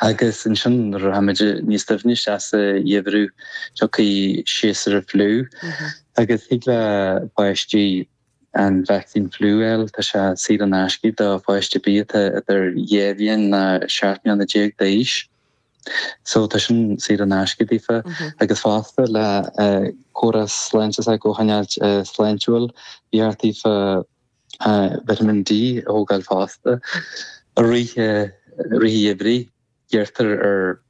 Agus ansin nuair a rachaimid níos doimhne isteach sa gheimhreadh tiocfaidh séasúr an fliú agus thig le páistí an vacsaín fliú a fháil, tá sé saor in aisce do pháiste ar bith atá idir 2 bhliain ná 17 mbliana d'aois. So tá sin saor in aisce daofa agus fosta le córas sláinte s'acu a choinneáilt sláintiúil, ba cheart daofa Vitamin D a thógáil fosta. I rith i rith an gheimhridh, iarrtar ar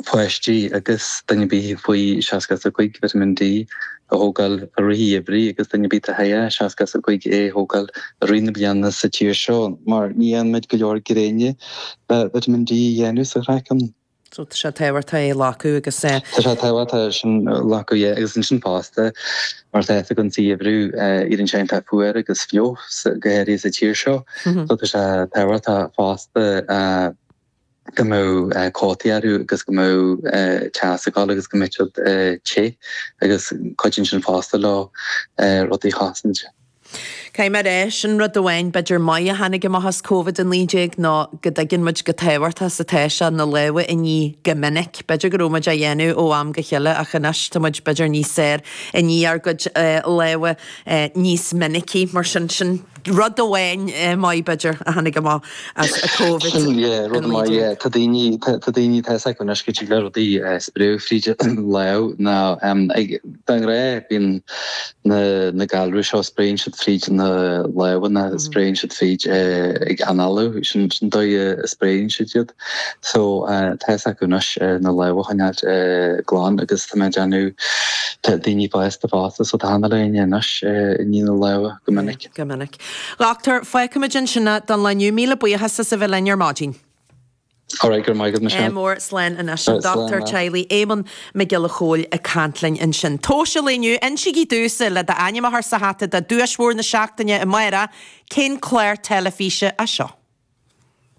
pháistí agus duine ar bith faoi 65 Vitamin D a thógáil i rith an gheimhridh agus duine ar bith atá thar 65 é a thógáil i rith na bliana sa tír seo mar ní fhaigheann muid go leor gréine le Vitamin D a dhéanamh sa chraiceann. So tá sé tábhachtach é a ghlacadh agus. Tá sé tábhachtach sin a ghlacadh, yeah, agus ansin fosta mar tá fhios againn sa gheimhreadh éiríonn sé iontach fuar agus fliuch go háirithe sa tír seo. So tá sé tábhachtach fosta go mbeadh cótaí orthu agus go mbeadh teas ag dul agus go mbeadh siad te agus cuidíonn sin fosta leo rudaí a chosaint. Caithfidh mé a rá, sin rud amháin b'fhéidir maith a tháinig amach as Covid-19 ná go dtuigeann muid chomh tábhachtach is atá sé na lámha a ní go minic. B'fhéidir go raibh muid á dhéanamh ó am go chéile ach anois tá muid b'fhéidir níos fearr ag ní ár gcuid lámha níos minicí. Mar sin, sin rud amháin maith b'fhéidir a tháinig amach as Covid-19. Sin, yeah, rud maith, yeah. Tá daoine, tá daoine, tá fhios acu anois go dtig le rudaí spréadh fríd an lámh ná ag, De ghnáth bíonn na galraí seo, spréann siad fríd na lámha ná spréann siad fríd ag análú, sin an dóigh a spréann siad iad. So tá fhios acu anois na lámha a choinneáilt glan agus tá mé ag déanamh, tá daoine fásta fosta so tá achan duine anois ag ní na lámha go minic. Go minic. A Dhochtúir, fágfaimid ansin é don lá inniu. Míle buíochas as a bheith linn ar maidin. Alright, go raibh maith agat, Michelle. Ádh mór, slán anois. An Dochtúir Teaghlaigh Éamonn Mac Giolla Chóill ag caint linn ansin. Tomhais an lae inniu, insígí domhsa, le d'ainm a chur sa hata do duais mhór na seachtaine amárach, cén clár teilifíse é seo?